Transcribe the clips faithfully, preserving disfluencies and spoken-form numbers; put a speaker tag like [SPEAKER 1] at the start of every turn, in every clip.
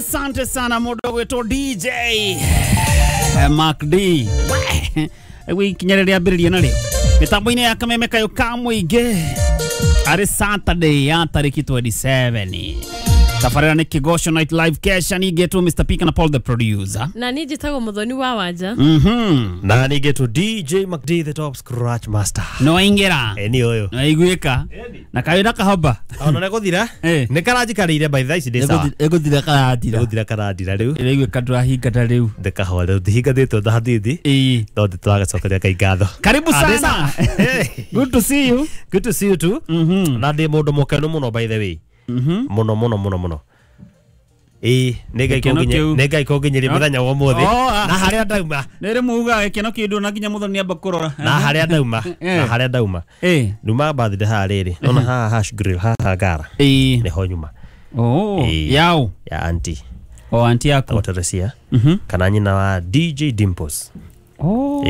[SPEAKER 1] Asante sana mũndũ gwĩtwo D J Mark D. Wĩ kinya rĩrĩa ambĩrĩria narĩo mĩtambo-inĩ ya Kameme Kayũ ka Mũingĩ arĩ Saturday ya tarĩki twenty-seven. Tabarĩra nĩ Kĩgoco Night Live kesha ningĩtwo Mister P na Paul the producer.
[SPEAKER 2] Na niĩ njĩtagwo Mũthoni wa Wanja.
[SPEAKER 1] Mhm.
[SPEAKER 3] Na ningĩtwo D J Mark D the top scratch master.
[SPEAKER 1] No aingĩra.
[SPEAKER 3] Eni ũyũ.
[SPEAKER 1] No aiguĩka. Na kawĩra kahoba.
[SPEAKER 3] Ona nĩ gũthira. Nĩ karanjikarĩire by thaa ici ndĩ sawa.
[SPEAKER 1] Ĩgũthira karatira.
[SPEAKER 3] Ĩgũthira karatira rĩu.
[SPEAKER 1] Ĩraiguĩka ndũrahingata rĩu.
[SPEAKER 3] Ndĩkahora rĩu ndihingatĩtwo na hanini.
[SPEAKER 1] Ĩĩ.
[SPEAKER 3] No ndĩtũragacokeria Ngai ngatho.
[SPEAKER 1] Karibu sana. Good to see you.
[SPEAKER 3] Good to see you too.
[SPEAKER 1] Mhm.
[SPEAKER 3] Na ndĩ mũndũ mũkenu mũno by the way.
[SPEAKER 1] Mhm.
[SPEAKER 3] Mũno mũno mũno mũno. Ĩĩ, nĩ Ngai
[SPEAKER 1] Gĩkeno
[SPEAKER 3] kũnginye
[SPEAKER 1] kĩu.
[SPEAKER 3] nĩ Ngai kũnginyeria mũthenya wa ũmũthĩ.
[SPEAKER 1] Oh, ah.
[SPEAKER 3] Na harĩa ndauma.
[SPEAKER 1] Nĩ rĩ muuga gĩkeno kĩu ndũna nginya Mũthoni amba kũrora.
[SPEAKER 3] Na harĩa ndauma. Na harĩa ndauma.
[SPEAKER 1] Ĩĩ.
[SPEAKER 3] Nduma birthday haha rĩrĩ. Nona haha hash grill haha gara.
[SPEAKER 1] Ĩĩ.
[SPEAKER 3] Nĩho nyuma.
[SPEAKER 1] Oh,
[SPEAKER 3] Ĩĩ.
[SPEAKER 1] yao.
[SPEAKER 3] Ya auntie.
[SPEAKER 1] O auntie yaku.
[SPEAKER 3] Etagwo Teresia.
[SPEAKER 1] Mhm.
[SPEAKER 3] Kana nyina wa D J Dimples.
[SPEAKER 1] Oh.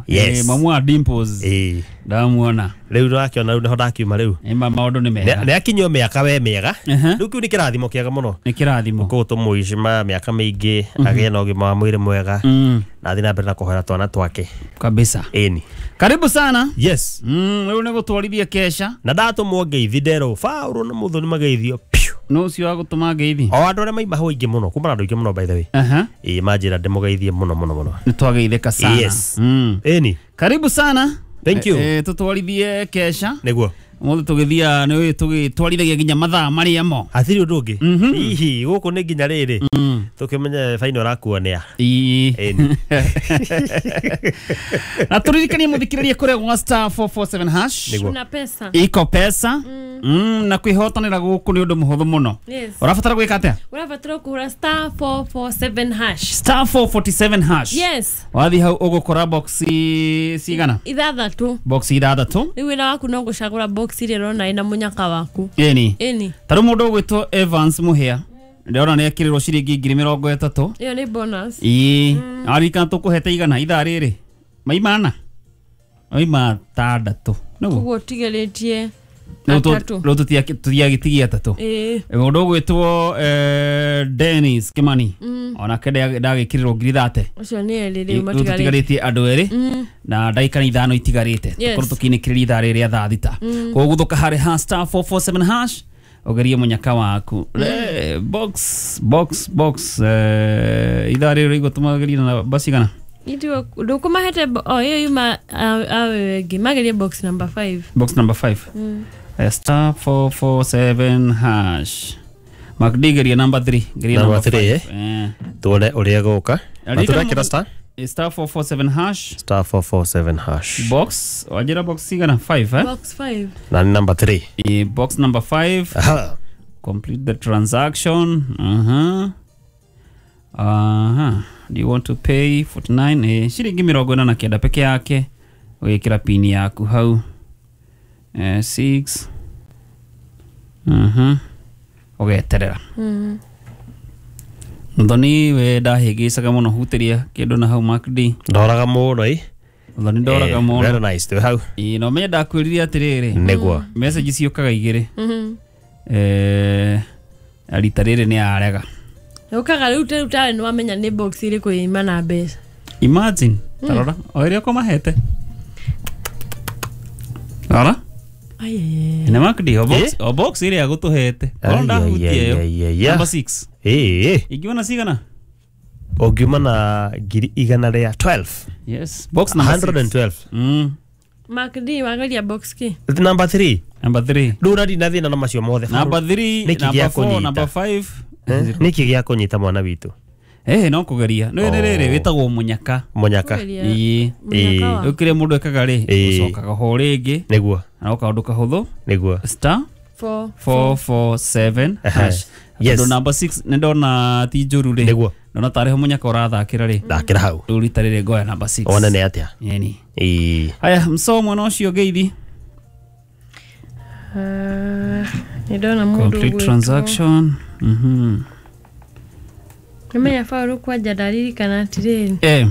[SPEAKER 3] Yes.
[SPEAKER 1] Eh, mamu wa Dimples.
[SPEAKER 3] Ĩĩ.
[SPEAKER 1] Ndamuona.
[SPEAKER 3] Rĩu ndakĩona rĩu nĩho ndakiuma rĩu.
[SPEAKER 1] Ĩma maũndũ nĩ mega.
[SPEAKER 3] Nĩ akinyio mĩaka we mĩega.
[SPEAKER 1] Aha.
[SPEAKER 3] Rĩu kĩu nĩ kĩrathimo kĩega mũno.
[SPEAKER 1] Nĩ kĩrathimo.
[SPEAKER 3] Koguo tũmũici mĩaka mĩingĩ agĩe na ũgima wa mwĩrĩ mwega.
[SPEAKER 1] Mm.
[SPEAKER 3] Na athiĩ na mbere na kũhoera twana twake.
[SPEAKER 1] Kabisa.
[SPEAKER 3] Ĩni.
[SPEAKER 1] Karibu sana.
[SPEAKER 3] Yes.
[SPEAKER 1] Mm, rĩu nĩ gũtwarithia kesha.
[SPEAKER 3] Na ndatũmwo ngeithi nderwo Paũlũ na Mũthoni mageithio piũ.
[SPEAKER 1] No ũcio wa gũtũma ngeithi.
[SPEAKER 3] O andũ arĩa maima hau aingĩ mũno, kuma na andũ aingĩ mũno by the way.
[SPEAKER 1] Aha.
[SPEAKER 3] Ĩĩ manjĩra ndĩmũgeithie mũno mũno mũno.
[SPEAKER 1] Nĩ twageithĩka sana.
[SPEAKER 3] Yes.
[SPEAKER 1] Mm.
[SPEAKER 3] Ĩni.
[SPEAKER 1] Karibu sana.
[SPEAKER 3] Thank you.
[SPEAKER 1] Eh, tũtwarithie kesha.
[SPEAKER 3] Nĩguo.
[SPEAKER 1] Mũthĩ tũgĩthia nĩ tũgĩtwarithagia nginya mathaa marĩa mo.
[SPEAKER 3] Hatirĩ ũndũ ũngĩ.
[SPEAKER 1] Mhm.
[SPEAKER 3] Hihi gũkũ nĩ nginya rĩrĩ.
[SPEAKER 1] Mm.
[SPEAKER 3] Tũkĩmenye faino ũrakuo nĩa.
[SPEAKER 1] Ĩĩ.
[SPEAKER 3] Ĩni.
[SPEAKER 1] Na tũririkanie mũthikĩrĩria kũrĩa gwa star four four seven hash.
[SPEAKER 3] Nĩguo.
[SPEAKER 2] Kuna pesa.
[SPEAKER 1] Iko pesa. Mm, na kwĩhotanĩra gũkũ nĩ ũndũ mũhũthũ mũno.
[SPEAKER 2] Yes.
[SPEAKER 1] Ũrabatara gwĩka atĩa?
[SPEAKER 2] Ũrabatara kũhũra star four four seven hash.
[SPEAKER 1] Star four forty-seven hash.
[SPEAKER 2] Yes.
[SPEAKER 1] Wathiĩ hau ũgũkora box cigana?
[SPEAKER 2] Ithathatũ.
[SPEAKER 1] Box ithathatũ.
[SPEAKER 2] Rĩu wĩra waku no gũcagũra box ĩrĩa ũrona ĩna mũnyaka waku.
[SPEAKER 1] Ĩni.
[SPEAKER 2] Ĩni.
[SPEAKER 1] Ta rĩu mũndũ ũgwĩtwo Evans Mũhĩa ndĩrona nĩ ekĩrĩrwo ciringi ngiri mĩrongo ĩtatũ.
[SPEAKER 2] Ĩyo nĩ bonus.
[SPEAKER 1] Ĩĩ. Aririkana tũkũhete igana ithaa rĩrĩ. Maima ana. Maima atandatũ. Nĩguo.
[SPEAKER 2] Koguo ũtigarĩtie
[SPEAKER 1] Rĩu
[SPEAKER 2] atatũ.
[SPEAKER 1] rĩu tũtiagĩtigia atatũ.
[SPEAKER 2] Ĩĩ.
[SPEAKER 1] Mũndũ ũgwĩtwo eh, Dennis Kimani onake ndagĩkĩrĩrwo ngiri thate.
[SPEAKER 2] Ũcio nĩ erĩ rĩu
[SPEAKER 1] Rĩu
[SPEAKER 2] matigarĩtie.
[SPEAKER 1] tũtigarĩtie andũ erĩ na ndagĩka nĩ ithano itigarĩte.
[SPEAKER 2] Yes.
[SPEAKER 1] Tũkorwo tũkĩinĩkĩrĩria ithaa rĩrĩ rĩa thaa thita. Koguo gũthũka harĩ ha star four four seven hash ũgerie mũnyaka waku. Le, box box box eh, ithaa rĩrĩ rĩigua tũmagerie na namba cigana?
[SPEAKER 2] Ithuĩ ndũkũmahete o ĩyo yuma awe ĩngĩ magerie box number five.
[SPEAKER 1] Box number five. Eh, star four four seven hash. Mark D geria number three. Geria
[SPEAKER 3] Number
[SPEAKER 1] number
[SPEAKER 3] three,
[SPEAKER 1] five. Eh.
[SPEAKER 3] Tuone ũrĩa gũka. Na
[SPEAKER 1] Ririkana
[SPEAKER 3] tũrekĩra
[SPEAKER 1] mũndũ-
[SPEAKER 3] star?
[SPEAKER 1] Eh, star four four seven hash.
[SPEAKER 3] Star four four seven hash.
[SPEAKER 1] Box wajira box cigana five eh?
[SPEAKER 2] Box five.
[SPEAKER 3] Na nĩ number three.
[SPEAKER 1] Eh, box number five.
[SPEAKER 3] Aha.
[SPEAKER 1] Complete the transaction. Uh-huh. Uh-huh. Do you want to pay forty-nine? Eh, shilingi mĩrongo ĩna na kenda peke yake. Ũgĩkĩra pini yaku hau. Eh, six. Uh-huh. Ũgeterera.
[SPEAKER 2] Mm.
[SPEAKER 1] Mũthoni we ndahĩngĩcaga mũno hutĩria kĩndũ na hau Mark D.
[SPEAKER 3] Ndoraga mũno ĩ.
[SPEAKER 1] Mũthoni ndoraga
[SPEAKER 3] Eh,
[SPEAKER 1] mũno.
[SPEAKER 3] Very nice. Twĩ hau.
[SPEAKER 1] Ĩĩ, na ũmenye ndakwĩrire atĩrĩrĩ.
[SPEAKER 3] Nĩguo.
[SPEAKER 1] Message ciũkaga igĩrĩ.
[SPEAKER 2] Mhm.
[SPEAKER 1] Eh, rita rĩrĩ nĩ arega.
[SPEAKER 2] Ũkaga rĩu rĩu tarĩ nĩ wamenya nĩ box ĩrĩkũ yuma na mbeca.
[SPEAKER 1] Imagine. Tarora, o ĩrĩa ũkũmahete. Rora.
[SPEAKER 2] Ai ai.
[SPEAKER 1] Nĩ Mark D, o box,
[SPEAKER 3] Eh?
[SPEAKER 1] o box ĩrĩa agũtũhete. Korwo
[SPEAKER 3] Ai,
[SPEAKER 1] ndahutia
[SPEAKER 3] ai,
[SPEAKER 1] ĩyo.
[SPEAKER 3] ai, ai, ai.
[SPEAKER 1] Number six.
[SPEAKER 3] Ĩĩ.
[SPEAKER 1] Ingiona cigana?
[SPEAKER 3] Ũngiuma na ngiri igana rĩa twelve.
[SPEAKER 1] Yes. Box number six.
[SPEAKER 3] hundred and twelve.
[SPEAKER 1] Mm.
[SPEAKER 2] Mark D wageria box kĩ?
[SPEAKER 3] Number three.
[SPEAKER 1] Number three.
[SPEAKER 3] Rĩu ũrathiĩ na thĩna na macio mothe.
[SPEAKER 1] Number three,
[SPEAKER 3] Nĩkĩ
[SPEAKER 1] number
[SPEAKER 3] gĩa
[SPEAKER 1] four,
[SPEAKER 3] kũnyita?
[SPEAKER 1] number five.
[SPEAKER 3] Eh? Nĩkĩ gĩa kũnyita mwana witũ?
[SPEAKER 1] Eh, no kũgeria. Nĩ
[SPEAKER 3] Oh.
[SPEAKER 1] rĩrĩ wĩtagwo mũnyaka.
[SPEAKER 3] Mũnyaka.
[SPEAKER 2] Kũgeria
[SPEAKER 1] Ĩĩ.
[SPEAKER 2] mũnyaka
[SPEAKER 3] Ĩĩ.
[SPEAKER 2] wa.
[SPEAKER 1] Rĩu kĩrĩa mũndũ ekaga rĩ,
[SPEAKER 3] Ĩĩ.
[SPEAKER 1] ũcokaga ho rĩngĩ.
[SPEAKER 3] Nĩguo.
[SPEAKER 1] Na no kaũndũ kahũthũ.
[SPEAKER 3] Nĩguo.
[SPEAKER 1] Star
[SPEAKER 2] Four.
[SPEAKER 1] four four seven
[SPEAKER 3] Ehe.
[SPEAKER 1] hash.
[SPEAKER 3] Yes.
[SPEAKER 1] Tondũ number six nĩ ndona ti njũru rĩ.
[SPEAKER 3] Nĩguo.
[SPEAKER 1] Ndona tarĩ ho mũnyaka ũrathakĩra rĩ.
[SPEAKER 3] Thakĩra hau.
[SPEAKER 1] Rĩu rita rĩrĩ ngoya number six.
[SPEAKER 3] Wone nĩ atĩa.
[SPEAKER 1] Yeni.
[SPEAKER 3] Ĩĩ.
[SPEAKER 1] Haya, mso mwana ũcio ngeithi.
[SPEAKER 2] Ah, nĩ ndona mũndũ
[SPEAKER 1] Complete
[SPEAKER 2] ũgwĩtwo.
[SPEAKER 1] transaction. Mhm.
[SPEAKER 2] Nĩmenya Paũlũ kwanja ndaririkana atĩrĩrĩ.
[SPEAKER 1] Eh.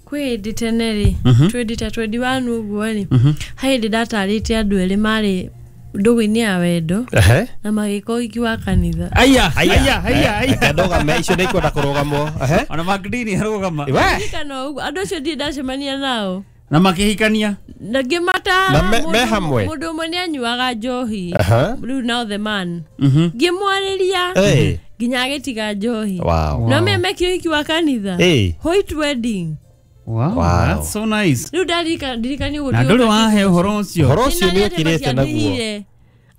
[SPEAKER 2] Kwĩ hĩndĩ tene rĩ,
[SPEAKER 1] Mhm.
[SPEAKER 2] twenty ta twenty-one ũguo rĩ,
[SPEAKER 1] Mhm.
[SPEAKER 2] he hĩndĩ ndatarĩte andũ erĩ marĩ ndũgũ-inĩ ya wendo
[SPEAKER 3] Ehe.
[SPEAKER 2] na magĩka ũhiki wa kanitha.
[SPEAKER 1] Aya, aya, aya, aya.
[SPEAKER 3] Ndũgame icio nĩ ikwenda kũrũgamwo. Ehe.
[SPEAKER 1] Ona Magdini arũgama.
[SPEAKER 3] We.
[SPEAKER 2] Ririkana ũguo andũ acio ndirĩ ndacemania nao
[SPEAKER 1] Na makĩhikania.
[SPEAKER 2] na ngĩmatara
[SPEAKER 3] Na me-
[SPEAKER 2] mũndũ-
[SPEAKER 3] me hamwe?
[SPEAKER 2] mũndũ ũmwe nĩ anyuaga njohi
[SPEAKER 3] Aha.
[SPEAKER 2] rĩu now the man
[SPEAKER 1] Mhm.
[SPEAKER 2] ngĩmwarĩria
[SPEAKER 3] Eh.
[SPEAKER 2] nginya agĩtiga njohi.
[SPEAKER 3] Wow.
[SPEAKER 2] No me mekire ũhiki wa kanitha.
[SPEAKER 3] Eh.
[SPEAKER 2] White wedding.
[SPEAKER 1] Wow,
[SPEAKER 3] Wow.
[SPEAKER 1] that's so nice.
[SPEAKER 2] Rĩu ndarika ndirikani ũguo
[SPEAKER 1] Na ndũrĩ wahe ũhoro ũcio.
[SPEAKER 3] Ũhoro ũcio nĩ ũkirĩte naguo.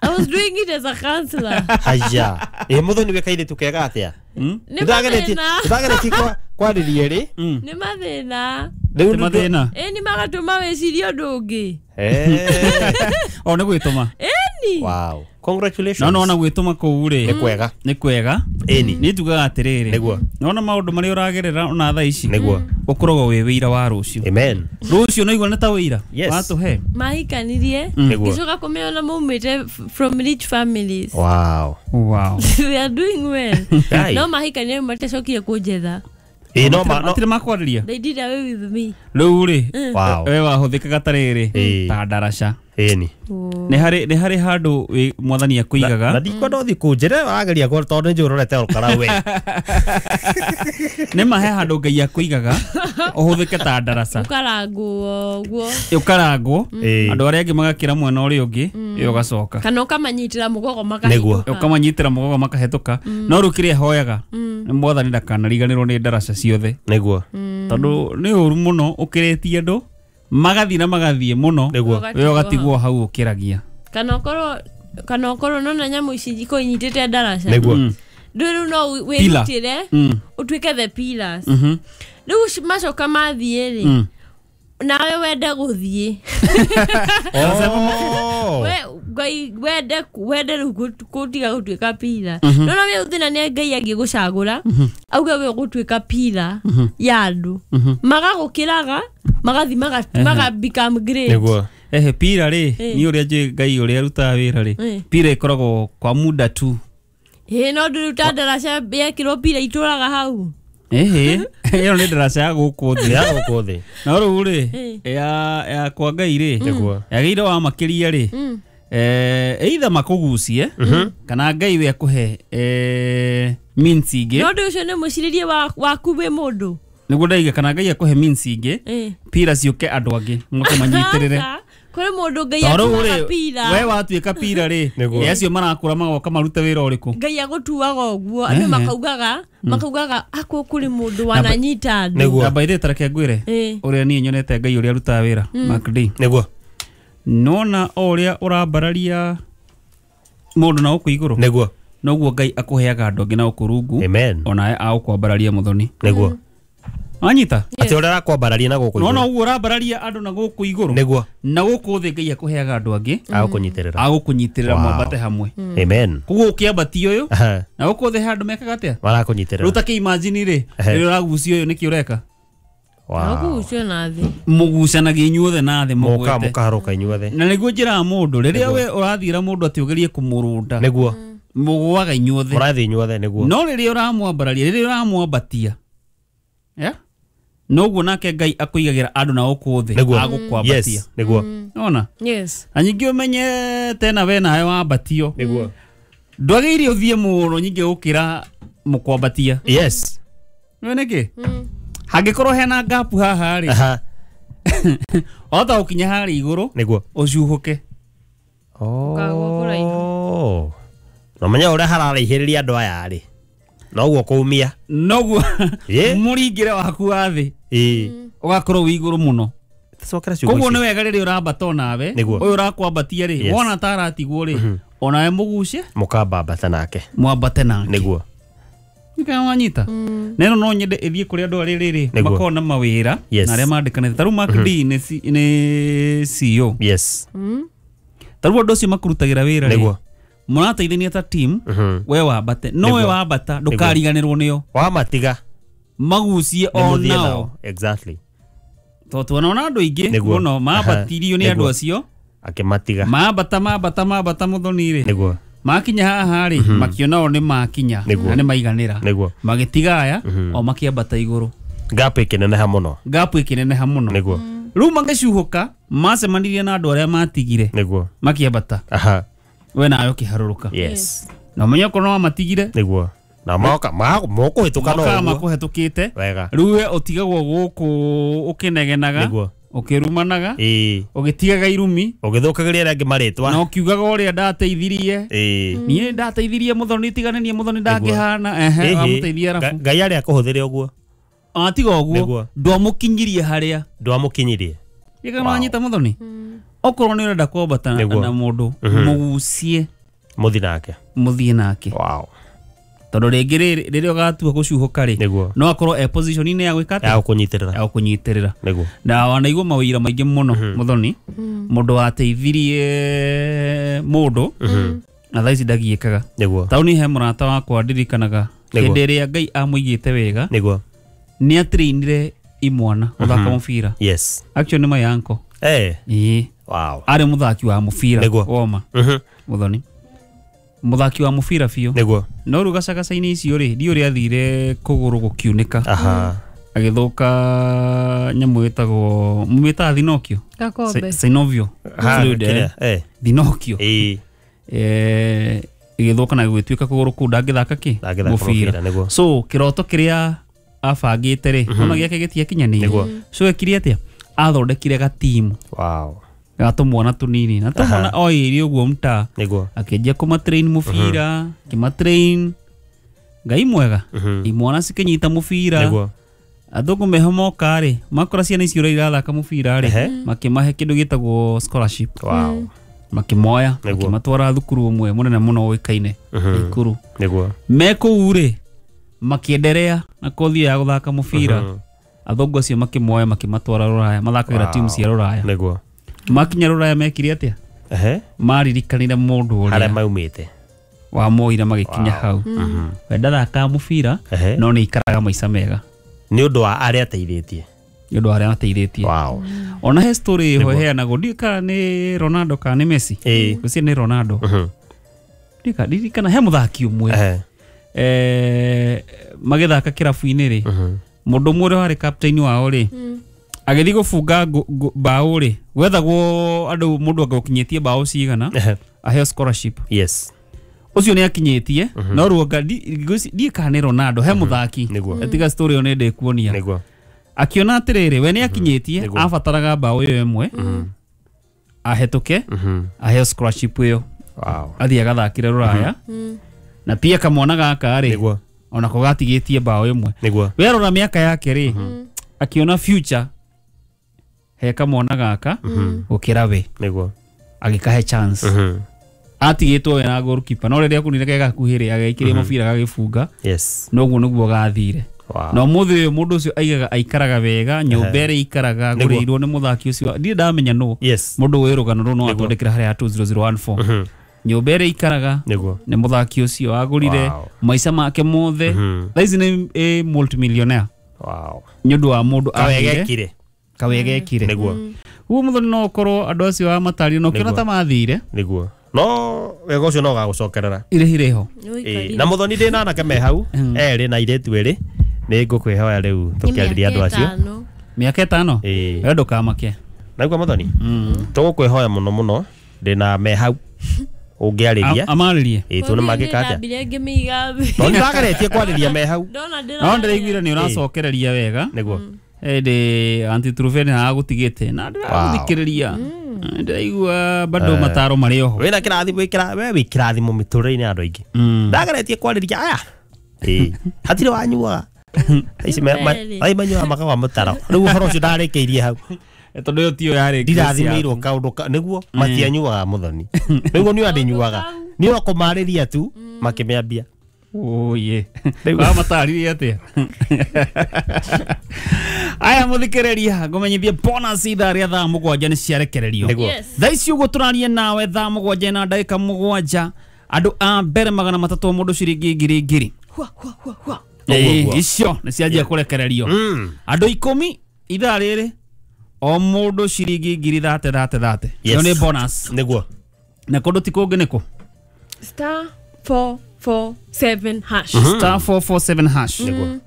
[SPEAKER 2] I was doing it as a counselor.
[SPEAKER 3] Haya. Ĩ mũthoni wĩ kairĩtu kega atĩa?
[SPEAKER 2] Nĩ
[SPEAKER 3] Ndĩrageretie
[SPEAKER 2] mathĩna.
[SPEAKER 3] ndĩrageretie kwa kwarĩria rĩ.
[SPEAKER 1] Mm.
[SPEAKER 2] Nĩ mathĩna.
[SPEAKER 3] Rĩu
[SPEAKER 1] Ti mathĩna.
[SPEAKER 2] Ĩ nĩ magatũma wĩcirie ũndũ ũngĩ.
[SPEAKER 3] Eh.
[SPEAKER 1] O nĩ gwĩtũma.
[SPEAKER 2] Ĩni.
[SPEAKER 3] Wow. Congratulations.
[SPEAKER 1] No nona gwĩtũma kũu rĩ.
[SPEAKER 3] Nĩ kwega.
[SPEAKER 1] Nĩ kwega.
[SPEAKER 3] Ĩni.
[SPEAKER 1] Nĩ njugaga atĩrĩrĩ.
[SPEAKER 3] Nĩguo.
[SPEAKER 1] Nona maũndũ marĩa ũragerera ona thaa ici.
[SPEAKER 3] Nĩguo.
[SPEAKER 1] Ũkoragwo wĩ wĩira wa rũciũ.
[SPEAKER 3] Amen.
[SPEAKER 1] Rũciũ no igua nĩ ta wĩira.
[SPEAKER 3] Yes.
[SPEAKER 1] Watũhe.
[SPEAKER 2] Mahikanirie.
[SPEAKER 3] Nĩguo.
[SPEAKER 2] Ngĩcoka kũmĩona maumĩte f- from rich families.
[SPEAKER 3] Wow.
[SPEAKER 1] Wow.
[SPEAKER 2] They are doing well.
[SPEAKER 3] Guy.
[SPEAKER 2] No mahikanirie matacokire kũnjetha.
[SPEAKER 3] Ĩ no ma no.
[SPEAKER 1] Matirĩ makwarĩria.
[SPEAKER 2] They did away with me.
[SPEAKER 1] Rĩu rĩ.
[SPEAKER 3] Wow.
[SPEAKER 1] We wahũthĩkaga ta rĩrĩ.
[SPEAKER 3] Ĩ.
[SPEAKER 1] Ta ndaraca.
[SPEAKER 3] Ĩni.
[SPEAKER 2] Oh.
[SPEAKER 1] Nĩ harĩ nĩ harĩ handũ wĩ- mwathani
[SPEAKER 3] Na
[SPEAKER 1] akũigaga.
[SPEAKER 3] ndikwenda ũthiĩ kũnjĩra ũrageria kũ tondũ nĩ ũrorete ũkara we.
[SPEAKER 1] Nĩ ma he handũ Ngai akũigaga ũhũthĩke ta ndaraca.
[SPEAKER 2] Ũkarangwo ũguo.
[SPEAKER 1] Ũkarangwo.
[SPEAKER 3] Ĩ.
[SPEAKER 1] Andũ arĩa angĩ magakĩra mwena ũrĩa ũngĩ ĩ ũgacoka.
[SPEAKER 2] Kana ũkamanyitĩra mũgongo
[SPEAKER 3] Nĩguo.
[SPEAKER 2] makahĩtũka.
[SPEAKER 1] Ũkamanyitĩra mũgongo makahĩtũka. No rĩu kĩrĩa hoyaga nĩ mwathani ndakanariganĩrwo nĩ ndaraca ciothe.
[SPEAKER 3] Nĩguo.
[SPEAKER 1] Tondũ nĩ ũru mũno ũkĩrĩtie andũ magathiĩ na magathiĩ mũno
[SPEAKER 3] Nĩguo.
[SPEAKER 1] we ũgatigwo hau ũkĩragia.
[SPEAKER 2] Kana ũkorwo kana ũkorwo nona nyamũ ici iko inyitĩte ndaraca.
[SPEAKER 3] Nĩguo.
[SPEAKER 1] Mm.
[SPEAKER 2] Rĩu rĩu no
[SPEAKER 1] Pillar.
[SPEAKER 2] wĩrutĩre
[SPEAKER 1] Mm.
[SPEAKER 2] ũtuĩke the pillars.
[SPEAKER 1] Mhm.
[SPEAKER 2] Rĩu ci- macoka mathiĩ rĩ
[SPEAKER 1] Mm.
[SPEAKER 2] nawe wende gũthiĩ.
[SPEAKER 3] Oh.
[SPEAKER 2] We Ngai wende wende rĩu gũ- gũtiga gũtuĩka pillar. No no wĩ thĩna nĩ Ngai angĩgũcagũra auge we ũgũtuĩka pillar ya andũ. Magagũkĩraga magathi maga maga become great.
[SPEAKER 3] Nĩguo.
[SPEAKER 1] Ehe pira rĩ
[SPEAKER 2] Eh.
[SPEAKER 1] ni ũrĩa njũĩ Ngai ũrĩa arutaga wĩra rĩ
[SPEAKER 2] Eh.
[SPEAKER 1] pira ĩkoragwo kwa muda tu.
[SPEAKER 2] Ĩ no ndũrĩ ta ndaraca yekĩrwo pira itũraga hau.
[SPEAKER 1] Ehe ĩyo nĩ ndaraca ya gũkũ thĩ.
[SPEAKER 3] Ya gũkũ thĩ.
[SPEAKER 1] No rĩu rĩ
[SPEAKER 2] Eh.
[SPEAKER 1] ya ya kwa Ngai rĩ
[SPEAKER 3] Nĩguo.
[SPEAKER 1] yagĩrĩire wamakĩria rĩ
[SPEAKER 2] Mm.
[SPEAKER 1] eh either makũgucie kana Ngai we akũhe eh means ingĩ.
[SPEAKER 2] No ũndũ ũcio nĩ mũcirĩrie wa- waku wĩ mũndũ.
[SPEAKER 1] Nĩguo ndaiga kana Ngai akũhe means ingĩ
[SPEAKER 2] Ĩ.
[SPEAKER 1] pira ciũke andũ angĩ moke manyitĩrĩre.
[SPEAKER 2] Aca, kũrĩ mũndũ Ngai
[SPEAKER 1] Tondũ rĩu
[SPEAKER 2] atuaga
[SPEAKER 1] rĩ
[SPEAKER 2] pira.
[SPEAKER 1] we watuĩka pira rĩ
[SPEAKER 3] Nĩguo.
[SPEAKER 1] ĩ acio marakũra magoka marute wĩra ũrĩkũ.
[SPEAKER 2] Ngai agũtuaga ũguo andũ
[SPEAKER 1] Ehe.
[SPEAKER 2] makaugaga makaugaga akũ kũrĩ mũndũ wananyita andũ.
[SPEAKER 3] Nĩguo.
[SPEAKER 1] Na by the way tareke ngwĩre
[SPEAKER 2] Ĩ.
[SPEAKER 1] ũrĩa niĩ nyonete Ngai ũrĩa arutaga wĩra Mark D.
[SPEAKER 3] Nĩguo.
[SPEAKER 1] Nona o ũrĩa ũrambararia mũndũ na gũkũ igũrũ
[SPEAKER 3] Nĩguo.
[SPEAKER 1] noguo Ngai akũheaga andũ angĩ na gũkũ rungu
[SPEAKER 3] Amen.
[SPEAKER 1] onawe agũkwambararia mũthoni.
[SPEAKER 3] Nĩguo.
[SPEAKER 1] Wanyita?
[SPEAKER 3] Atĩ ũrĩa arakwambararia na gũkũ
[SPEAKER 1] Nona
[SPEAKER 3] igũrũ.
[SPEAKER 1] ũguo ũrambararia andũ na gũkũ igũrũ
[SPEAKER 3] Nĩguo.
[SPEAKER 1] na gũkũ thĩ Ngai akũheaga andũ angĩ
[SPEAKER 3] Agũkũnyitĩrĩra.
[SPEAKER 1] agũkũnyitĩrĩra
[SPEAKER 3] Wow.
[SPEAKER 1] mwambate hamwe.
[SPEAKER 3] Amen.
[SPEAKER 1] Koguo ũkĩambatia ũyũ
[SPEAKER 3] Aha.
[SPEAKER 1] na gũkũ thĩ he andũ mekaga atĩa? Rĩu
[SPEAKER 3] Marakũnyitĩrĩra.
[SPEAKER 1] ta kĩimagine rĩ
[SPEAKER 3] Ehe.
[SPEAKER 1] rĩrĩa ũragucia ũyũ nĩkĩ ũreka?
[SPEAKER 3] Wow.
[SPEAKER 2] Agũgucio na thĩ.
[SPEAKER 1] Mũgucanagia inyuothe na thĩ
[SPEAKER 3] Mũka
[SPEAKER 1] mũgwete.
[SPEAKER 3] mũkaharũka inyuothe.
[SPEAKER 1] Na nĩguo njĩraga mũndũ rĩrĩa we ũrathiĩra mũndũ atĩ ũgerie kũmũrũnda
[SPEAKER 3] Nĩguo.
[SPEAKER 1] mũgũaga inyuothe.
[SPEAKER 3] Mũrathiĩ inyuothe nĩguo.
[SPEAKER 1] No rĩrĩa ũramwambararia rĩrĩa ũramwambatia yeah? Noguo nake Ngai akũigagĩra andũ na gũkũ thĩ
[SPEAKER 3] Nĩguo.
[SPEAKER 1] agũkwambatia.
[SPEAKER 3] Yes. Nĩguo.
[SPEAKER 1] Ona
[SPEAKER 2] Yes.
[SPEAKER 1] na nyingĩ ũmenye tena we nawe wambatio
[SPEAKER 3] Nĩguo.
[SPEAKER 1] ndwagĩrĩire ũthiĩ mũno nyingĩ gũkĩra mũkwambatia.
[SPEAKER 3] Yes.
[SPEAKER 1] Nĩũĩ nĩkĩ? Hangĩkorwo hena gap haha rĩ
[SPEAKER 3] Aha.
[SPEAKER 1] wahota gũkinya harĩa igũrũ
[SPEAKER 3] Nĩguo.
[SPEAKER 1] ũcuhũke.
[SPEAKER 2] Ũkagũa kũraihu.
[SPEAKER 3] Oh. No menya ũrĩa hararaihĩrĩria andũ aya rĩ. Noguo kũumia.
[SPEAKER 1] Noguo
[SPEAKER 3] Ĩ.
[SPEAKER 1] mũringĩre waku wa thĩ
[SPEAKER 3] Ĩ.
[SPEAKER 1] ũgakorwo wĩ igũrũ mũno.
[SPEAKER 3] Cokera ciugo
[SPEAKER 1] Koguo nĩ
[SPEAKER 3] icio.
[SPEAKER 1] wega rĩrĩa ũrambata onawe
[SPEAKER 3] Nĩguo.
[SPEAKER 1] ũyũ ũrakwambatia rĩ
[SPEAKER 3] Yes.
[SPEAKER 1] wona ta aratigwo rĩ onawe mũgucie
[SPEAKER 3] Mũkambambata nake.
[SPEAKER 1] mwambate nake.
[SPEAKER 3] Nĩguo.
[SPEAKER 1] Nĩkĩo wanyita. Na ĩno no nyende ĩthiĩ kũrĩ andũ arĩa rĩrĩ
[SPEAKER 3] Nĩguo.
[SPEAKER 1] makoragwo na mawĩra
[SPEAKER 3] Yes.
[SPEAKER 1] na arĩa mandĩkanĩte. Ta rĩu Mark D nĩ C- nĩ C E O.
[SPEAKER 3] Yes.
[SPEAKER 1] Ta rĩu andũ acio makũrutagĩra wĩra rĩ
[SPEAKER 3] Nĩguo.
[SPEAKER 1] mũrateithania ta team
[SPEAKER 3] Mhm.
[SPEAKER 1] we wambate no we
[SPEAKER 3] Nĩguo.
[SPEAKER 1] wambata ndũkariganĩrwo nĩo
[SPEAKER 3] Wamatiga.
[SPEAKER 1] magucie
[SPEAKER 3] Nĩ
[SPEAKER 1] o
[SPEAKER 3] mũthiĩ
[SPEAKER 1] nao
[SPEAKER 3] nao. Exactly.
[SPEAKER 1] tondũ tuonaona andũ aingĩ
[SPEAKER 3] Nĩguo.
[SPEAKER 1] mũno mambatirio nĩ andũ
[SPEAKER 3] Nĩguo.
[SPEAKER 1] acio
[SPEAKER 3] Akĩmatiga.
[SPEAKER 1] mambata mambata mambata mũthoni rĩ
[SPEAKER 3] Nĩguo.
[SPEAKER 1] makinya haha rĩ makiona o nĩ makinya
[SPEAKER 3] Nĩguo.
[SPEAKER 1] na nĩ maiganĩra
[SPEAKER 3] Nĩguo.
[SPEAKER 1] magĩtiga aya o makĩambata igũrũ
[SPEAKER 3] Gap ĩkĩneneha mũno.
[SPEAKER 1] gap ĩkĩneneha mũno
[SPEAKER 3] Nĩguo.
[SPEAKER 1] rĩu magĩcuhũka macemanirie na andũ arĩa matigire
[SPEAKER 3] Nĩguo.
[SPEAKER 1] makĩambata
[SPEAKER 3] Aha.
[SPEAKER 1] We nawe ũkĩharũrũka.
[SPEAKER 3] Yes.
[SPEAKER 1] Na ũmenye okorwo no wamatigire
[SPEAKER 3] Nĩguo. Na moka mokũhĩtũka no
[SPEAKER 1] mokaga
[SPEAKER 3] ũguo.
[SPEAKER 1] makũhetũkĩte.
[SPEAKER 3] Wega.
[SPEAKER 1] Rĩu we ũtigagwo gũkũ ũkĩnegenaga,
[SPEAKER 3] Nĩguo.
[SPEAKER 1] ũkĩrumanaga,
[SPEAKER 3] Ĩĩ.
[SPEAKER 1] ũgĩtigaga irumi
[SPEAKER 3] Ũgĩthũkagĩria arĩa angĩ marĩtwa.
[SPEAKER 1] na ũkiugaga ũrĩa ndateithirie.
[SPEAKER 3] Ĩĩ.
[SPEAKER 1] Niĩ ndateithirie mũthoni, tigane niĩ mũthoni ndangĩhana. Ehe,
[SPEAKER 3] Ĩhĩ.
[SPEAKER 1] wamũteithia
[SPEAKER 3] Nga-
[SPEAKER 1] arabu
[SPEAKER 3] Ngai arĩa akũhũthĩre ũguo.
[SPEAKER 1] atiga ũguo
[SPEAKER 3] Nĩguo.
[SPEAKER 1] ndwamũkinyirie harĩa
[SPEAKER 3] Ndwamũkinyirie.
[SPEAKER 1] gĩka wanyita mũthoni. Okorwo nĩ ũrenda kwambata na
[SPEAKER 3] Nĩguo.
[SPEAKER 1] na mũndũ, mũgucie
[SPEAKER 3] Mũthi nake.
[SPEAKER 1] mũthiĩ nake,
[SPEAKER 3] Wow.
[SPEAKER 1] tondũ rĩngĩ rĩrĩ rĩrĩa ũgatua gũcuhũka rĩ,
[SPEAKER 3] Nĩguo.
[SPEAKER 1] no akorwo e position-inĩ ya gwĩka
[SPEAKER 3] Ya
[SPEAKER 1] atĩa,
[SPEAKER 3] gũkũnyitĩrĩra.
[SPEAKER 1] ya gũkũnyitĩrĩra.
[SPEAKER 3] Nĩguo.
[SPEAKER 1] Na wanaigua mawĩra maingĩ mũno mũthoni, mũndũ wateithirie mũndũ na thaa ici ndagiĩkaga.
[SPEAKER 3] Nĩguo.
[SPEAKER 1] Taũni he mũrata wakwa ndirikanaga
[SPEAKER 3] Nĩguo.
[SPEAKER 1] hĩndĩ ĩrĩa Ngai amũigĩte wega,
[SPEAKER 3] Nĩguo.
[SPEAKER 1] nĩ atrainire imwana gũthaka mũbira.
[SPEAKER 3] Yes.
[SPEAKER 1] Actually nĩ my uncle.
[SPEAKER 3] Eh.
[SPEAKER 1] Ĩĩ,
[SPEAKER 3] Wow.
[SPEAKER 1] arĩ mũthaki wa mũbira
[SPEAKER 3] Nĩguo.
[SPEAKER 1] woma
[SPEAKER 3] Mhm.
[SPEAKER 1] mũthoni, mũthaki wa mũbira biũ.
[SPEAKER 3] Nĩguo.
[SPEAKER 1] No rĩu gacagaca-inĩ icio rĩ, ndiũ ũrĩa athire kũgũrũ gũkiunĩka,
[SPEAKER 3] Aha.
[SPEAKER 1] agĩthũka nyamũ ĩtagwo mũmĩtaga thinokio,
[SPEAKER 2] Gakombe.
[SPEAKER 1] synovial
[SPEAKER 3] Ha,
[SPEAKER 1] fluid, eh.
[SPEAKER 3] kĩrĩa. Eh.
[SPEAKER 1] Thinokio.
[SPEAKER 3] Ĩĩ.
[SPEAKER 1] Eh, ĩgĩthũka na gũgĩtuĩka kũgũrũ kũu ndangĩthaka kĩ
[SPEAKER 3] Ndangĩthaka mũbira, nĩguo.
[SPEAKER 1] So kĩroto kĩrĩa abangĩte rĩ, ona gĩake gĩtiakinyanĩire.
[SPEAKER 3] Nĩguo.
[SPEAKER 1] So ekire atĩa, athondekire gatimu
[SPEAKER 3] Wow.
[SPEAKER 1] ga tũmwana tũnini na tũmwana oĩrĩ ũguo mtaa,
[SPEAKER 3] Nĩguo.
[SPEAKER 1] akĩanjia kũmatrain mũbira, akĩmatrain. Ngai mwega, imwana cikĩnyita mũbira.
[SPEAKER 3] Nĩguo.
[SPEAKER 1] Athũngũ meho moka rĩ, makora ciana icio ũrĩa irathaka mũbira rĩ,
[SPEAKER 3] Ehe.
[SPEAKER 1] makĩmahe kĩndũ gĩtagwo scholarship.
[SPEAKER 3] Wow.
[SPEAKER 1] Makĩmoya,
[SPEAKER 3] Nĩguo.
[SPEAKER 1] makĩmatwara thukuru ũmwe mũnene mũno ũĩkaine Ikuru.
[SPEAKER 3] Nĩguo.
[SPEAKER 1] Me kũu rĩ, makĩenderea na kothi ya gũthaka mũbira. Athũngũ acio makĩmoya makĩmatwara rũraya, mathakagĩra
[SPEAKER 3] Wow.
[SPEAKER 1] timu cia rũraya.
[SPEAKER 3] Nĩguo.
[SPEAKER 1] Makinya rũraya mekire atĩa,
[SPEAKER 3] Ehe.
[SPEAKER 1] maririkanire mũndũ
[SPEAKER 3] Harĩa
[SPEAKER 1] ũrĩa
[SPEAKER 3] maumĩte.
[SPEAKER 1] wamoire magĩkinya hau. We ndathakaga mũbira,
[SPEAKER 3] Ehe.
[SPEAKER 1] no nĩ ikaraga maica mega
[SPEAKER 3] Nĩ ũndũ wa arĩa ateithĩtie.
[SPEAKER 1] nĩ ũndũ wa arĩa mateithĩtie.
[SPEAKER 3] Wow.
[SPEAKER 1] Ona he story ĩho ĩheanagwo, ndiũĩ kana nĩ Ronaldo kana nĩ Messi.
[SPEAKER 3] Ĩĩ.
[SPEAKER 1] Ngwĩciria nĩ Ronaldo.
[SPEAKER 3] Mhm.
[SPEAKER 1] Ndiũĩ kana- ndirikana he mũthaki ũmwe
[SPEAKER 3] Ehe.
[SPEAKER 1] eh, magĩthaka kĩrabu-inĩ rĩ, mũndũ ũmwe ũrĩa warĩ captain wao rĩ, agĩthiĩ gũbunga ngũ- ngũ- mbaũ rĩ, gwethagwo andũ mũndũ anga ũkinyĩtie mbaũ cigana
[SPEAKER 3] Ehe.
[SPEAKER 1] aheo scholarship.
[SPEAKER 3] Yes.
[SPEAKER 1] Ũcio nĩ akinyĩtie, no ruonga ndiĩ kana nĩ Ronaldo, he mũthaki.
[SPEAKER 3] Nĩguo.
[SPEAKER 1] Tiga story ĩyo nĩ ndĩkuonia.
[SPEAKER 3] Nĩguo.
[SPEAKER 1] Akiona atĩrĩrĩ, we nĩ akinyĩtie,
[SPEAKER 3] Nĩguo.
[SPEAKER 1] abataraga mbaũ ĩyo ĩmwe ahĩtũke
[SPEAKER 3] Mhm.
[SPEAKER 1] aheo scholarship ĩyo,
[SPEAKER 3] Wow.
[SPEAKER 1] athiĩ agathakĩre rũraya. Na pia kamwana gaka rĩ,
[SPEAKER 3] Nĩguo.
[SPEAKER 1] onako gatigĩtie mbaũ ĩmwe.
[SPEAKER 3] Nĩguo.
[SPEAKER 1] Werora mĩaka yake rĩ, akiona future he kamwana gaka gũkĩra we,
[SPEAKER 3] Nĩguo.
[SPEAKER 1] agĩkahe chance.
[SPEAKER 3] Mhm.
[SPEAKER 1] Atigĩtwo we na goalkeeper, no rĩrĩa akunire ke gakuhĩ rĩ, agekĩria mũbira gagĩbunga.
[SPEAKER 3] Yes.
[SPEAKER 1] Noguo nĩguo gathire.
[SPEAKER 3] Wow.
[SPEAKER 1] Na ũmũthĩ ũyũ mũndũ ũcio aigaga aikaraga wega nyũmba ĩrĩa aikaraga
[SPEAKER 3] Nĩguo.
[SPEAKER 1] agũrĩirwo nĩ mũthaki ũcio, ndirĩ ndamenya nũ.
[SPEAKER 3] Yes.
[SPEAKER 1] Mũndũ wĩ rũgano rũu no atwandĩkĩra harĩa two zero zero one four.
[SPEAKER 3] Mhm.
[SPEAKER 1] Nyũmba ĩrĩa aikaraga
[SPEAKER 3] Nĩguo.
[SPEAKER 1] nĩ mũthaki ũcio agũrire.
[SPEAKER 3] Wow.
[SPEAKER 1] Maica make mothe
[SPEAKER 3] Mhm.
[SPEAKER 1] thaa ici nĩ ĩ multimillionaire
[SPEAKER 3] Wow.
[SPEAKER 1] nĩ ũndũ wa mũndũ aheire
[SPEAKER 3] Kawegekire.
[SPEAKER 1] kawegekire.
[SPEAKER 3] Nĩguo.
[SPEAKER 1] Ũguo mũthoni no ũkorwo andũ acio amatarire na ũkĩona
[SPEAKER 3] Nĩguo.
[SPEAKER 1] ta mathire.
[SPEAKER 3] Nĩguo. No wega ũcio no ũgagũcokerera.
[SPEAKER 1] Irĩhi rĩho.
[SPEAKER 3] Ĩĩ. Na mũthoni ndĩ na anake me hau erĩ na airĩtu erĩ, nĩ ngũkwĩhoya rĩu tũkĩarĩria andũ acio.
[SPEAKER 1] Mĩaka ĩtano.
[SPEAKER 3] Ĩĩ.
[SPEAKER 1] We ndũkamake.
[SPEAKER 3] Naigua mũthoni, tũgũkwĩhoya mũno mũno, ndĩ na me hau ũngĩarĩria.
[SPEAKER 1] Amarĩrie.
[SPEAKER 3] Ĩĩ, tuone mangĩka atĩa.
[SPEAKER 2] Ndambire ngĩmĩiga thĩ.
[SPEAKER 3] No nĩndĩrageretie kwarĩria me hau.
[SPEAKER 2] Ndona
[SPEAKER 1] No ndĩraiguire nĩ ũracokereria wega.
[SPEAKER 3] Nĩguo.
[SPEAKER 1] Ĩndĩ anti Truven agũtigĩte na ndĩragũthikĩrĩria, ndĩraigua bado mataro marĩ oho.
[SPEAKER 3] Wĩna kĩrathimo, wĩ we wĩ kĩrathimo mĩtũrĩre-inĩ ya andũ aingĩ. Ndageretie kwarĩria aya. Ĩĩ. Hatirĩ wanyuaga. Ici me- ma-
[SPEAKER 2] Kweli.
[SPEAKER 3] ai manyuaga makagwa mũtaro. Rĩu ũhoro ũcio ndarĩkĩirie hau.
[SPEAKER 1] Tondũ ĩyo tiyo yarĩ
[SPEAKER 3] Ndirathimĩirwo kaũndũ ka nĩguo matianyuaga mũthoni. Nĩguo niĩ andĩnyuaga. Niĩ no kũmarĩria tu makĩmĩambia.
[SPEAKER 1] Oye. Wamatarĩrie atĩa? Aya mũthikĩrĩria, ngũmenyithie bonus ithaa rĩa thaa mũgwanja nĩ ciarekererio.
[SPEAKER 3] Nĩguo.
[SPEAKER 2] Yes.
[SPEAKER 1] Thaa ici ũguo tũraria nawe, thaa mũgwanja na ndagĩka mũgwanja, andũ a mbere magana matatũ mũndũ ciringi ngiri ngiri.
[SPEAKER 2] Hua, hua, hua, hua.
[SPEAKER 1] Ĩĩ,
[SPEAKER 3] ũguo.
[SPEAKER 1] icio nĩ cianjia kũrekererio.
[SPEAKER 3] Mm.
[SPEAKER 1] Andũ ikũmi ithaa rĩrĩ, o mũndũ ciringi ngiri thate thate thate.
[SPEAKER 3] Yes.
[SPEAKER 1] Ĩyo nĩ bonus.
[SPEAKER 3] Nĩguo.
[SPEAKER 1] Na kũndũ ti kũngĩ nĩkũ?
[SPEAKER 2] Star four four seven hash.
[SPEAKER 1] Star four four seven hash.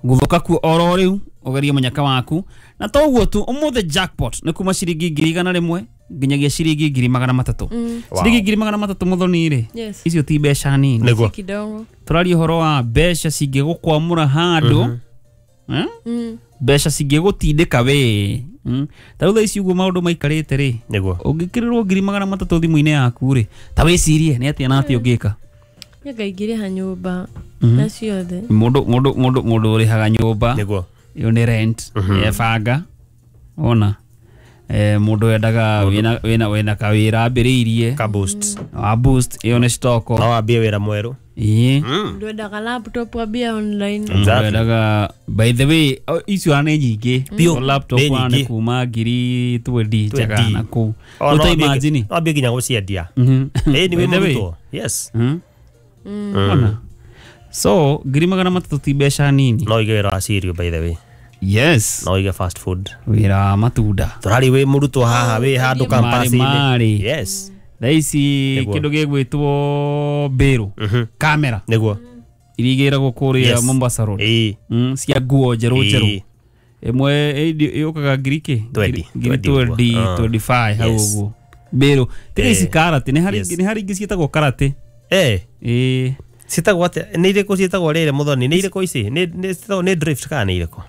[SPEAKER 1] Gũthũka kuo oro rĩu ũgerie mũnyaka waku. Na toguo tu ũmũthĩ jackpot nĩ kuma ciringi ngiri igana rĩmwe, nginyagia ciringi ngiri magana matatu.
[SPEAKER 3] Wow.
[SPEAKER 1] Ciringi ngiri magana matatu muthoni ri
[SPEAKER 2] Yes.
[SPEAKER 1] icio ti mbeca nini.
[SPEAKER 3] Nĩguo.
[SPEAKER 2] Kidogo.
[SPEAKER 1] Tũraria ũhoro wa mbeca cingĩgũkwamũra handũ, eh?
[SPEAKER 2] Mm.
[SPEAKER 1] Mbeca cingĩgũtindĩka we. Mm. Ta rĩu thaa ici ũguo maũndũ maikarĩte rĩ,
[SPEAKER 3] Nĩguo.
[SPEAKER 1] ũngĩkĩrĩrwo ngiri magana matatũ thimũ-inĩ yaku rĩ, ta wĩcirie nĩ atĩa na atĩa ũngĩka.
[SPEAKER 2] Nĩngaingĩrĩha nyũmba na ciothe.
[SPEAKER 1] Mũndũ mũndũ mũndũ mũndũ ũrĩhaga nyũmba
[SPEAKER 3] Nĩguo.
[SPEAKER 1] ĩyo nĩ rent ebanga ona eh, mũndũ wendaga wĩna wĩna wĩna kawĩra ambĩrĩirie
[SPEAKER 3] Ka boost.
[SPEAKER 1] wa boost ĩyo nĩ stoko.
[SPEAKER 3] No wambie wĩra mwerũ.
[SPEAKER 1] Ĩĩ.
[SPEAKER 2] Ndwendaga laptop wambie online.
[SPEAKER 3] Exactly.
[SPEAKER 1] Wendaga by the way o- icio ona nĩ nyingĩ.
[SPEAKER 3] Biũ.
[SPEAKER 1] O laptop
[SPEAKER 3] Nĩ
[SPEAKER 1] ona nĩ
[SPEAKER 3] nyingĩ.
[SPEAKER 1] kuma ngiri twendi njega
[SPEAKER 3] Twenty.
[SPEAKER 1] na kũu.
[SPEAKER 3] O, no
[SPEAKER 1] Rĩu ta
[SPEAKER 3] wambie-
[SPEAKER 1] imagine.
[SPEAKER 3] no wambie nginya gũciendia.
[SPEAKER 1] Mhm.
[SPEAKER 3] Ĩĩ nĩ
[SPEAKER 1] By
[SPEAKER 3] wĩ
[SPEAKER 1] the way.
[SPEAKER 3] mũrutwo. Yes.
[SPEAKER 1] Mhm. Ona. So ngiri magana matatũ ti mbeca nini.
[SPEAKER 3] No ũige wĩra wa cereal by the way.
[SPEAKER 1] Yes.
[SPEAKER 3] No ũige fast food.
[SPEAKER 1] Wĩra wa matunda.
[SPEAKER 3] Tũrari wĩ mũrutwo haha wĩ handũ campus-inĩ.
[SPEAKER 1] Marĩ.
[SPEAKER 3] Yes.
[SPEAKER 1] Thaa ici
[SPEAKER 3] Nĩguo.
[SPEAKER 1] kĩndũ gĩgwĩtwo mbĩrũ kamera
[SPEAKER 3] Nĩguo.
[SPEAKER 1] iria igĩragwo kũrĩa
[SPEAKER 3] Yes.
[SPEAKER 1] Mombasa Road.
[SPEAKER 3] Ĩĩ.
[SPEAKER 1] Mm, cia nguo njerũ njerũ.
[SPEAKER 3] Ĩĩ.
[SPEAKER 1] Ĩmwe ĩndi- yũkaga ngiri kĩ?
[SPEAKER 3] Twenty.
[SPEAKER 1] Ngiri
[SPEAKER 3] Twenty ũguo.
[SPEAKER 1] twenty,
[SPEAKER 3] Ah.
[SPEAKER 1] twenty five hau
[SPEAKER 3] Yes.
[SPEAKER 1] ũguo. Mbĩrũ. Tiga
[SPEAKER 3] Eh.
[SPEAKER 1] ici karate, nĩ harĩ
[SPEAKER 3] Yes.
[SPEAKER 1] ingĩ- nĩ harĩ ingĩ ciĩtagwo karate.
[SPEAKER 3] Eh.
[SPEAKER 1] Ĩĩ.
[SPEAKER 3] Ciĩtagwo atĩa? Nĩ irĩkũ ciĩtagwo rĩrĩ mũthoni? Nĩ irĩkũ ici? Nĩ nĩ ciĩtagwo nĩ drift kana nĩ irĩkũ?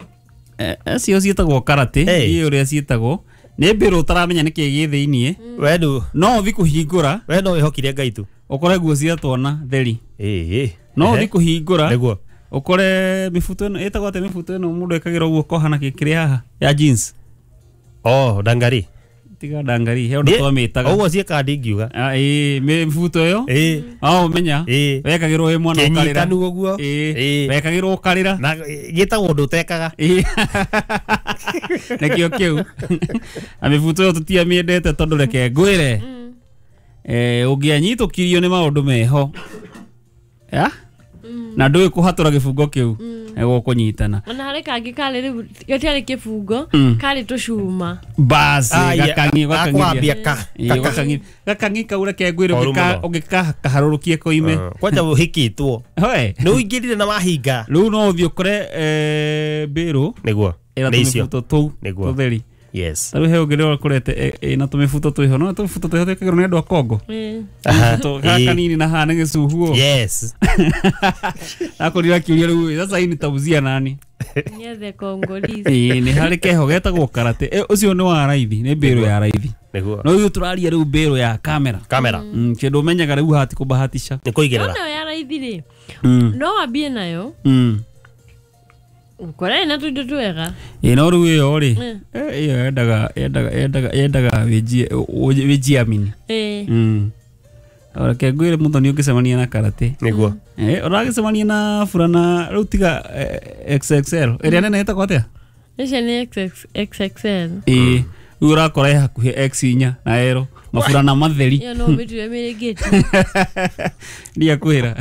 [SPEAKER 1] Eh, Acio ciĩtagwo karate,
[SPEAKER 3] Eh.
[SPEAKER 1] ndiũĩ ũrĩa ciĩtagwo. Nĩ mbĩrũ ũtaramenya nĩkĩ gĩ thĩiniĩ.
[SPEAKER 3] We ndu
[SPEAKER 1] No ũthi kũhingũra
[SPEAKER 3] we no wĩhokire Ngai tu.
[SPEAKER 1] ũkore nguo cia twana theri.
[SPEAKER 3] Ĩĩ.
[SPEAKER 1] No
[SPEAKER 3] Ehe.
[SPEAKER 1] ũthi kũhingũra
[SPEAKER 3] Nĩguo.
[SPEAKER 1] ũkore mĩbuto ĩno ĩtagwo atĩa mĩbuto ĩno mũndũ ekagĩra ũguo koha na kĩrĩ haha ya jeans.
[SPEAKER 3] Oh, ndangari.
[SPEAKER 1] Tiga ndangari he ũndũ twamĩtaga.
[SPEAKER 3] Ũguo ciĩkaga ndingiuga.
[SPEAKER 1] Ah, ĩĩ mĩbuto ĩyo
[SPEAKER 3] Ĩĩ.
[SPEAKER 1] no ũmenya
[SPEAKER 3] Ĩĩ.
[SPEAKER 1] wekagĩrwo wĩ mwana ũkarĩra.
[SPEAKER 3] Kĩnyitanu ũguo.
[SPEAKER 1] Ĩĩ.
[SPEAKER 3] Ĩĩ.
[SPEAKER 1] Wekagĩrwo ũkarĩra.
[SPEAKER 3] Na gĩtagwo ũndũ ũtekaga.
[SPEAKER 1] Ĩĩ. Nĩkĩo kĩu. Na mĩbuto ĩyo tũtiamĩendete tondũ reke ngwĩre eh, ũngĩanyitũkirio nĩ maũndũ meho ya na ndũĩ kũhatũra gĩbungo kĩu nĩgũkũnyitana.
[SPEAKER 2] Ona harĩ kangĩ karĩ rĩu gatiarĩ kĩbungo
[SPEAKER 1] Mm.
[SPEAKER 2] karĩ tũcuma.
[SPEAKER 1] Basi
[SPEAKER 3] Ah, yeah.
[SPEAKER 1] gakang'i
[SPEAKER 3] Gakwambia ka.
[SPEAKER 1] Ĩĩ, gakang'i gakang'i kau reke ngwĩre
[SPEAKER 3] Koru
[SPEAKER 1] ũngĩka-
[SPEAKER 3] mũno.
[SPEAKER 1] ũngĩkakaharũrũkie koime.
[SPEAKER 3] Kwanja ũhikĩtwo.
[SPEAKER 1] Hoe.
[SPEAKER 3] Nĩ ũingĩrire na wahinga.
[SPEAKER 1] Rĩu no ũthiĩ ũkore eh, mbĩrũ
[SPEAKER 3] Nĩguo.
[SPEAKER 1] ĩna
[SPEAKER 3] Nĩ icio.
[SPEAKER 1] tũmĩbuto tũu
[SPEAKER 3] Nĩguo.
[SPEAKER 1] tũtheri.
[SPEAKER 3] Yes.
[SPEAKER 1] Ta rĩu he ũngĩ rĩrĩa ũkorete ĩ- ĩna tũmĩbuto twĩho no tũmĩbuto twĩho twĩkagĩrwo nĩ andũ a Kongo.
[SPEAKER 2] Ĩĩ.
[SPEAKER 3] Aha.
[SPEAKER 1] Tũmĩbuto gaka
[SPEAKER 3] Ĩĩ.
[SPEAKER 1] kanini na haha nĩ gĩcuhuo.
[SPEAKER 3] Yes.
[SPEAKER 1] Akorirwo akĩũria rĩu sasa hii nitauzia nani?
[SPEAKER 2] Niethe Congolese.
[SPEAKER 1] Ĩĩ nĩ harĩ keho getagwo karate. Ĩ, ũcio nĩ wa raithi, nĩ mbĩrũ ya raithi.
[SPEAKER 3] Nĩguo.
[SPEAKER 1] No rĩu tũraria rĩu mbĩrũ ya kamera.
[SPEAKER 3] Kamera.
[SPEAKER 1] Mm, kĩndũ ũmenyaga rĩu haha ti kũbahatisha.
[SPEAKER 3] Nĩ kũigĩrĩra.
[SPEAKER 2] No nayo ya raithi rĩ
[SPEAKER 1] Mm.
[SPEAKER 2] no wambie nayo
[SPEAKER 1] Mm.
[SPEAKER 2] ũkore ĩna tũindo twega.
[SPEAKER 1] Ĩ no rĩu ĩyo rĩ
[SPEAKER 2] Mm.
[SPEAKER 1] eh, ĩyo yendaga yendaga yendaga yendaga wĩnjie ũ- wĩnjiamini.
[SPEAKER 2] Ĩĩ.
[SPEAKER 1] Mm. Reke ngwĩre mũthoni ũngĩcemania na karate.
[SPEAKER 3] Nĩguo.
[SPEAKER 1] Eh, ũragĩcemania na burana rĩu tiga eh, X X L ĩrĩa nene ĩtagwo atĩa?
[SPEAKER 2] Icio nĩ X X L.
[SPEAKER 1] Ĩĩ rĩu ũrakora ĩ hakuhĩ X inya na ero maburana matheri.
[SPEAKER 2] Ĩyo no ũmĩtue mĩrĩngĩti.
[SPEAKER 1] Ndiakwĩra.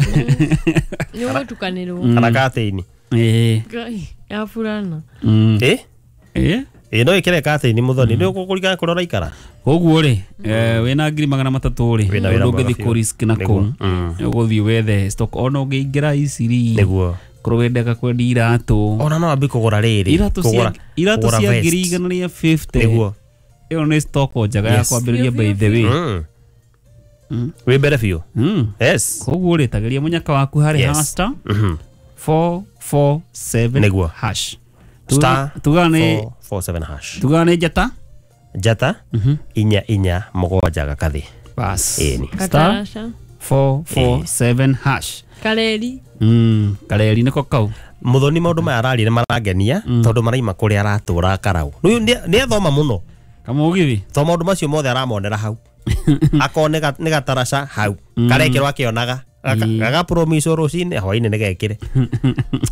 [SPEAKER 2] Nĩ ũgũtukanĩrwo.
[SPEAKER 3] Kana katĩini.
[SPEAKER 1] Ĩĩ.
[SPEAKER 2] Ngai, ya burana.
[SPEAKER 1] Mm.
[SPEAKER 3] Ĩ?
[SPEAKER 1] Ĩĩ.
[SPEAKER 3] Ĩ no ĩkĩre katĩini mũthoni. Nĩ ũkũringana kũrĩa ũraikara.
[SPEAKER 1] Koguo rĩ eh, wĩna ngiri magana matatũ rĩ
[SPEAKER 3] Wĩna wĩra
[SPEAKER 1] ũndũ
[SPEAKER 3] mwega
[SPEAKER 1] ũngĩthiĩ
[SPEAKER 3] biũ.
[SPEAKER 1] kũ risk na
[SPEAKER 3] Nĩguo.
[SPEAKER 1] kũu
[SPEAKER 3] Mm.
[SPEAKER 1] ũgũthiĩ wethe stock ona ũngĩingĩra iciri
[SPEAKER 3] Nĩguo.
[SPEAKER 1] korwo wendaga kwendia iratũ
[SPEAKER 3] Ona no wambie kũgũra rĩrĩ.
[SPEAKER 1] iratũ cia
[SPEAKER 3] Kũgũra-
[SPEAKER 1] iratũ
[SPEAKER 3] kũgũra
[SPEAKER 1] cia
[SPEAKER 3] vest.
[SPEAKER 1] ngiri igana rĩa fifty
[SPEAKER 3] Nĩguo.
[SPEAKER 1] ĩyo nĩ stock njega ya
[SPEAKER 3] Yes.
[SPEAKER 1] kwambĩrĩria
[SPEAKER 2] Biũ,
[SPEAKER 1] by the way.
[SPEAKER 3] Mm.
[SPEAKER 1] Mm.
[SPEAKER 3] Wĩ mbere biũ.
[SPEAKER 1] Mm.
[SPEAKER 3] Yes.
[SPEAKER 1] Koguo rĩ tageria mũnyaka waku harĩ
[SPEAKER 3] Yes.
[SPEAKER 1] haha star
[SPEAKER 3] Mhm.
[SPEAKER 1] four four seven
[SPEAKER 3] Nĩguo.
[SPEAKER 1] hash.
[SPEAKER 3] Star
[SPEAKER 1] tugaga nĩ
[SPEAKER 3] four four seven hash.
[SPEAKER 1] tugaga nĩ njata
[SPEAKER 3] Njata inya inya mũgwanja gakathĩ.
[SPEAKER 1] bas
[SPEAKER 3] Ĩni.
[SPEAKER 1] star
[SPEAKER 2] Kataraca.
[SPEAKER 1] four four seven hash.
[SPEAKER 2] Kareri.
[SPEAKER 1] Mm, kareri nĩko kau.
[SPEAKER 3] Mũthoni maũndũ maya araria nĩ marangenia tondũ maraima kũrĩa aratũra karau. Rĩu nĩ nĩ athoma mũno.
[SPEAKER 1] Kamũgithi.
[SPEAKER 3] To maũndũ macio mothe aramonera hau. Akone nĩ gataraca hau. Karekĩrwo akĩonaga. Gagapromiswo rũcinĩ hwainĩ nĩ gekĩre.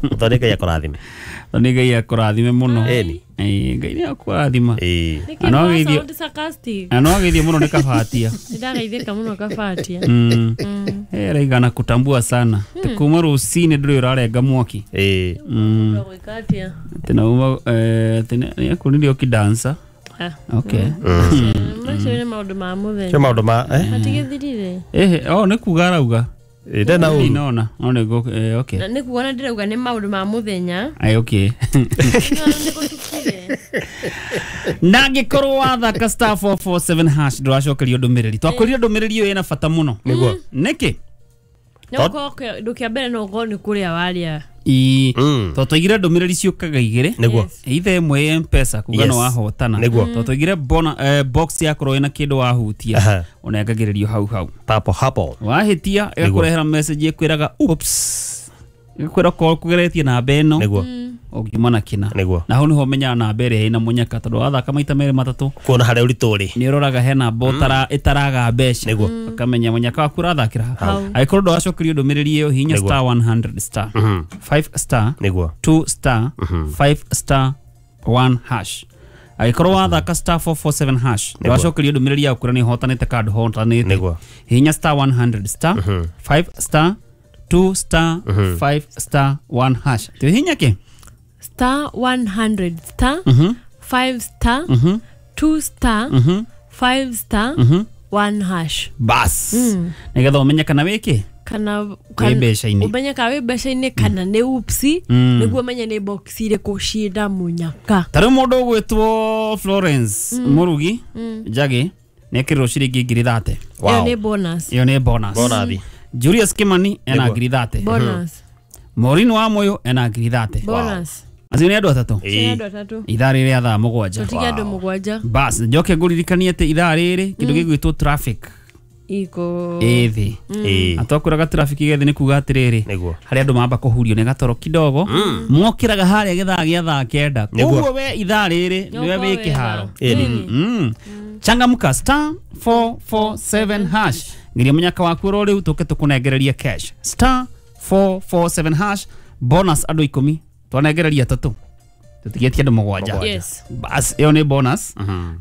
[SPEAKER 3] Mũthoni Ngai akũrathime.
[SPEAKER 1] Nĩ Ngai akũrathime mũno.
[SPEAKER 3] Ĩni.
[SPEAKER 1] Ĩĩ, Ngai nĩ akũrathima.
[SPEAKER 3] Ĩĩ.
[SPEAKER 2] Nĩkĩ
[SPEAKER 1] Na no
[SPEAKER 2] no
[SPEAKER 1] geithio-
[SPEAKER 2] sound sarcastic?
[SPEAKER 1] Na no ageithio mũno nĩ kabatia.
[SPEAKER 2] Nĩndageithĩka mũno kabatia.
[SPEAKER 1] Mm.
[SPEAKER 2] Mm.
[SPEAKER 1] Eh, araigana kutambua sana. Te kuma rũcinĩ ndũrĩ ũrarenga mwaki.
[SPEAKER 3] Ĩĩ.
[SPEAKER 1] Mm.
[SPEAKER 2] Ũgwĩka atĩa?
[SPEAKER 1] Tena uma eh tena nĩ akunire ũkidansa.
[SPEAKER 2] Ah.
[SPEAKER 1] Okay.
[SPEAKER 2] Macio nĩ maũndũ ma mũthenya.
[SPEAKER 3] Cio maũndũ ma eh?
[SPEAKER 2] Matigĩthirire.
[SPEAKER 1] Eh, oh nĩ kuga arauga.
[SPEAKER 3] Ĩĩ ndena ũru.
[SPEAKER 1] Ndinona. No nĩ eh okay.
[SPEAKER 2] Na nĩ kuona ndĩrauga nĩ maũndũ ma mũthenya.
[SPEAKER 1] Ai okay.
[SPEAKER 2] Nĩ gũtukire.
[SPEAKER 1] Na angĩkorwo wathaka star four four seven hash ndũracokerio ndũmĩrĩri. Twakwĩrire ndũmĩrĩri ĩyo ĩna bata mũno.
[SPEAKER 3] Nĩguo.
[SPEAKER 1] Nĩkĩ?
[SPEAKER 2] No ũkorwo kĩndũ kĩa mbere no ũkorwo nĩ kũrĩa warĩa.
[SPEAKER 1] Ii.
[SPEAKER 3] Mm.
[SPEAKER 1] Tondũ twaigire ndũmĩrĩri ciũkaga igĩrĩ.
[SPEAKER 3] Nĩguo.
[SPEAKER 1] Either ĩmwe ya M-Pesa kuga
[SPEAKER 3] Yes.
[SPEAKER 1] nĩ wahotana.
[SPEAKER 3] Nĩguo.
[SPEAKER 1] Tondũ twaigire bona eh, box yakorwo ĩna kĩndũ wahutia
[SPEAKER 3] Aha.
[SPEAKER 1] ũnengagĩrĩrio hau hau.
[SPEAKER 3] Papo hapo.
[SPEAKER 1] Wahĩtia ĩgakũrehera message ĩkwĩraga oops. Ĩgakwĩra okorwo kũgeretie namba ĩno
[SPEAKER 3] Nĩguo.
[SPEAKER 1] ũngiuma na kĩna.
[SPEAKER 3] Nĩguo.
[SPEAKER 1] Na hau nĩho ũmenyaga namba ĩrĩa ĩna mũnyaka tondũ wathaka maita merĩ matatũ
[SPEAKER 3] Kuona harĩa ũritũ ũrĩ.
[SPEAKER 1] nĩ ũroraga he namba ũtara ĩtaraga mbeca.
[SPEAKER 3] Nĩguo.
[SPEAKER 1] Ũkamenya mũnyaka waku ũrathakĩra
[SPEAKER 2] Hau.
[SPEAKER 1] Angĩkorwo ndũracokerio ndũmĩrĩri ĩyo hihinya
[SPEAKER 3] Nĩguo.
[SPEAKER 1] star one hundred star
[SPEAKER 3] Mhm.
[SPEAKER 1] five star
[SPEAKER 3] Nĩguo.
[SPEAKER 1] two star five star one hash. Angĩkorwo wathaka star four four seven hash ndũracokerio ndũmĩrĩri yaku kũrĩa nĩ ũhotanĩte kana ndũhotanĩte.
[SPEAKER 3] Nĩguo.
[SPEAKER 1] Hihinya star one hundred star five star two star five star one hash. Tuhihinya kĩ?
[SPEAKER 2] Star one hundred star
[SPEAKER 1] Mhm.
[SPEAKER 2] five star
[SPEAKER 1] Mhm.
[SPEAKER 2] two star
[SPEAKER 1] Mhm.
[SPEAKER 2] five star
[SPEAKER 1] Mhm.
[SPEAKER 2] one hash.
[SPEAKER 1] Bas. Nĩgetha ũmenye kana wĩkĩ?
[SPEAKER 2] Kana
[SPEAKER 1] Wĩ mbeca-inĩ.
[SPEAKER 2] ũmenye kana wĩ mbeca-inĩ kana nĩ upsi
[SPEAKER 1] Mm.
[SPEAKER 2] nĩguo ũmenye nĩ box irĩkũ ciĩna mũnyaka.
[SPEAKER 1] Ta rĩu mũndũ ũgwĩtwo Florence Mũrugi Njagi nĩekĩrirwo ciringi ngiri thate.
[SPEAKER 2] Ĩyo
[SPEAKER 3] Wow.
[SPEAKER 2] nĩ bonus.
[SPEAKER 1] Ĩyo nĩ bonus.
[SPEAKER 3] Bonathi.
[SPEAKER 1] Julius Kimani ena
[SPEAKER 3] Nĩguo.
[SPEAKER 1] ngiri thate.
[SPEAKER 2] Bonus.
[SPEAKER 1] Maureen wa Moyo ena ngiri thate.
[SPEAKER 2] Bonus.
[SPEAKER 1] Acio nĩ andũ atatũ.
[SPEAKER 2] Cia andũ atatũ.
[SPEAKER 1] Ithaa rĩrĩ rĩa thaa mũgwanja.
[SPEAKER 2] Tũtige andũ mũgwanja.
[SPEAKER 1] Bas, njoke ngũririkanie atĩ ithaa rĩrĩ kĩndũ gĩgwĩtwo traffic
[SPEAKER 2] Iko.
[SPEAKER 1] ĩ thĩ.
[SPEAKER 3] Ĩĩ.
[SPEAKER 1] Na twakwĩraga traffic ĩ thĩ nĩ kuga atĩrĩrĩ
[SPEAKER 3] Nĩguo.
[SPEAKER 1] harĩa andũ mamba kũhurio nĩ gatoro kidogo mokĩraga harĩa gĩthaa gĩa thaa kenda.
[SPEAKER 3] Nĩguo.
[SPEAKER 1] Koguo we ithaa rĩrĩ nĩwe wĩ kĩharo.
[SPEAKER 3] Ĩni.
[SPEAKER 1] Mm. Changamka star four four seven hash. Ngiria mũnyaka waku oro rĩu tũke tũkũnengererie cash. Star four four seven hash bonus andũ ikũmi twanengereria atatũ tũtigĩtie andũ mũgwanja.
[SPEAKER 2] Yes.
[SPEAKER 1] Bas ĩyo nĩ bonus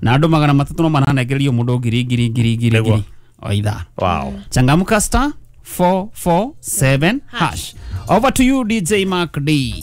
[SPEAKER 1] na andũ magana matatũ no maranengererio mũndũ ngiri ngiri ngiri ngiri
[SPEAKER 3] Nĩguo.
[SPEAKER 1] ngiri o ithaa.
[SPEAKER 3] Wow.
[SPEAKER 1] Changamka star four four seven hash. Over to you D J Mark D.